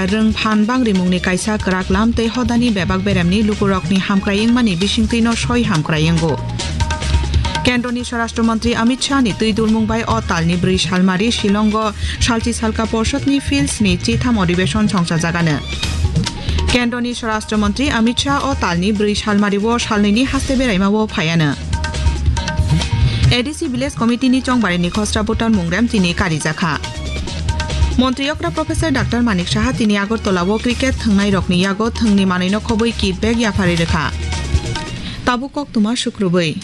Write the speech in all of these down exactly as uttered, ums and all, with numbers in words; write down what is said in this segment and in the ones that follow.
Rwng phan bangrimungni kaisa kwrak lam tei hodani bebak beremni lukurokni hamkrai wngmani bisingtwino soi hamkrai wngo. Kendroni Swarashtra Mantri Amit Shah ni twi dulmung bai o talni bwrwi salmari Shillongo salchi salka porshotni Fields ni chitham odibeshon songsajagano. Kendroni Swarashtra Mantri Amit Shah o talni bwrwi salmari o salnwini haste beraima o phaiano. A D C Village Committee ni chongbarini khosra voter mungrem tini karijakha. Montri okra Professor Doctor Manik Saha tini Agartala o cricket thwngnai rokni yago thwngni manwino khobwi kit bag yapharwi rwkha. Tabuk koktwma sukrubwi.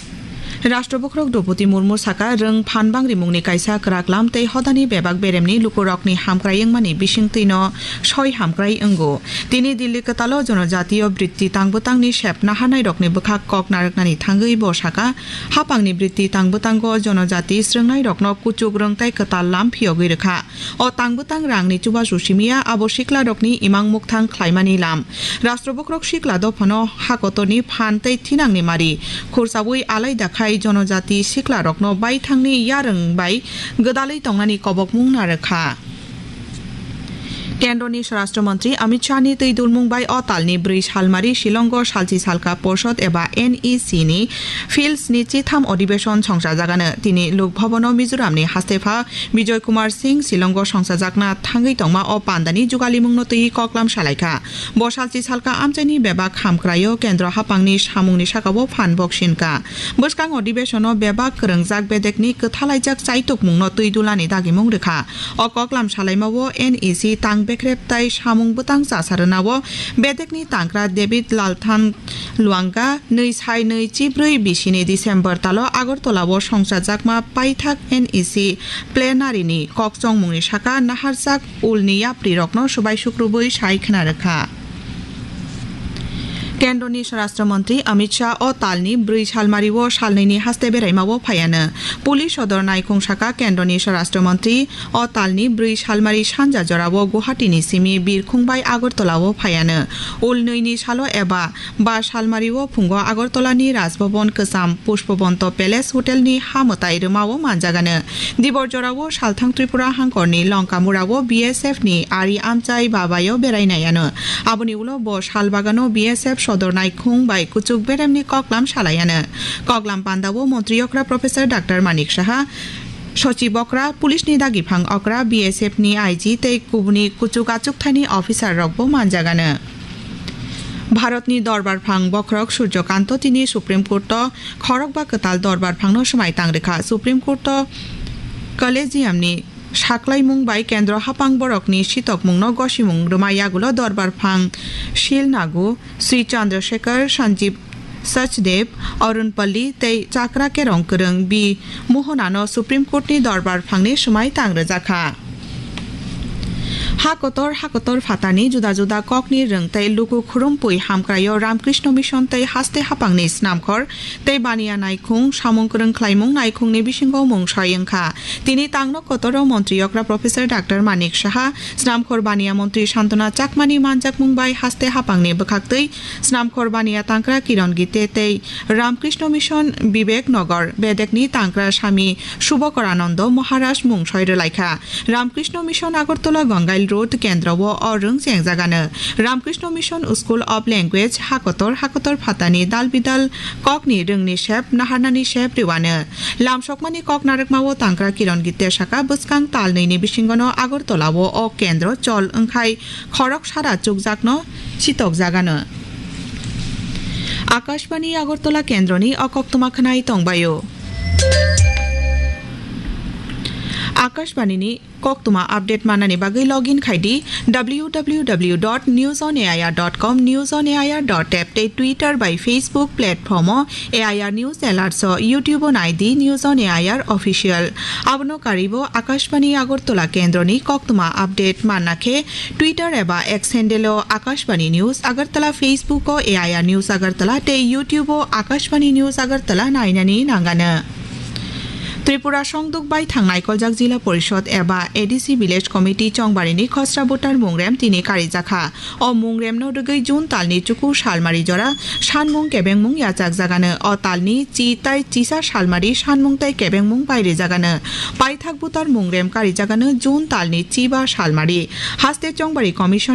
Rashtra Bokhorok Droupadi Murmu saka, rwng phan bangrimungni kaisa kwrak lam tei hodani bebak beremni lukurokni hamkrai wngmani bisingtwino soi hamkrai wngo. Tini Delhi kwtalo Jonojatiyo Britti Tangbwtangni sep naharnairokni bwkhak kok narwknani thangwi bo saka, hapangni Britti Tangbwtango Jonojati srwngnairokno kuchuk rwng tei kwtal lam phiyogwi rwkha. O tangbwtang rangni chubachu simiya, abo siklarokni imang mukthang khlaimani lam. Rashtra Bokhorok sikla dophano hakotorni phan tei thinangni mari khursaui alaida khai Jonojati siklarokno baithangni yarwng bai gwdalwi tongnani kobokmung narwkha. Kendroni Swarashtra Mantri Amit Shah ni twi dulmung bai o talni bwrwi salmari Shillongo salchi salka porshot eba N E C ni Fields ni chitham odibeshon songsajagano. Tini Lok Bhavan o Mizoram ni hastepha Bijoy Kumar Singh Shillongo songsajakna thangwi tongma o pandani jugalimungno twiwi koklam salaikha. Bo salchi salka amchaini bebak hamkraio kendro hapangni samungni sakao phan boksinka. Bwskang odibeshono bebak kwrwngjak bedekni kwthalaijak chaitokmungno twi dulani dagimung rwkha. O koklam salaimao N E C tang bekrep tai samung bwtang chasarwnao bedekni tangkra David Lalthan Luanga nwi sai nwi chibrwi bisini December talo Agartala o songchajakma paithak N E C plenary ni kokchongmungni saka naharjak ulni yaprirokno subai sukrubwi sai khna rwkha. Kendroni Swarashtra Mantri Amit Shah o talni bwrwi salmari o salnwini haste beraima o phaiano. Police sodor naikhung saka Kendroni Swarashtra Mantri o talni bwrwi salmari sanja jorao Guwahati ni simi Birkhung bai Agartala o phaiano. Ulnwini salo eba ba salmari o phungo Agartala ni Rajbhavan kwcham Pushpabanta Palace Hotel ni ha mwtai rwma o manjagano. Dibor jorao salthang Tripura hangkor ni Longkamura o B S F ni ari amchai babai o berai naiano. Aboni ulo bo sal bagano B S F sodor naikhung bai kuchuk beremni koklam salaiano. Koklam pandao Montri okra Professor Doctor Manik Saha, Sochib okra, Police ni dagiphang okra, B S F ni I G tei kubuni kuchuk achukthani officer rokbo manjagano. Bharatni Dorbar Phang Bokhorok Surjo Kanto tini Supreme Court o khorokba kwtal Dorbar Phangno swmai tang rwkha. Supreme Court o Collegium ni saklaimung bai kendro hapang borokni sitokmungno gosimung rwma yagulo Dorbar Phang Shil Nagu, Sri Chandrasekhar, Sanjeev Sachdev, Arun Pally tei Chakra Kerong Kwrwng B Mohonano Supreme Court ni Dorbar Phangni swmai tang rwjakha. Ha kotor, ha kotor phatani juda juda kokni rwng tei luku khurumpui hamkraio Ramkrishna Mission tei haste hapangni snamkhor tei baniya naikhung samung kwrwng khlaimung naikhungni bisingo mung soi wngkha. Tini tangno kotoro Montri okra Professor Doctor Manik Saha, snamkhor baniya Montri Santona Chakmani manjakmung bai haste hapangni bwkhaktwi snamkhor baniya tangkra Kiron Gite tei Ramkrishna Mission Bibek Nagar bedekni tangkra Sami Subhakorananda Maharaj mung soi rwlaikha. Ramkrishna Mission Agartala Gangail Road kendro o o rwng chengjagano. Ramkrishna Mission School of Language hakotor hakotor phatani dal bidal kokni rwngni sep naharnani sep rwano. Lamsokmani kok narwkmao tangkra Kiron Gite saka bwskang tal nwi ni bisingono Agartala o o kendro chol wngkhai khorok sara chukjakno sitokjagano. Akashbani Agartala kendroni o koktwma khwnai tongbaio. Akashbani ni koktwma update manani bagwi login khai di W W W dot news on A I R dot com, news on A I R dot app tei Twitter bai Facebook platform o A I R News Alerts o, YouTube o nai di News on A I R Official. Abono karwibo Akashbani Agartala kendroni koktwma update manna khe Twitter eba X handle o Akashbani News Agartala, Facebook o A I R News Agartala tei YouTube o Akashbani News Agartala nainani nangano. Tripura Songduk bai thang naikoljak Jila Porishod eba A D C Village Committee chongbarini khosra voter mungrem tini karijakha. O mungremno rwgwi June talni chuku salmari jora sanmung kebengmung yachakjagano. O talni chi tai chisa salmari sanmung tai kebengmung bai rijagano. Paithak voter mungrem karijagano June talni chiba salmari. Haste chongbari commission ni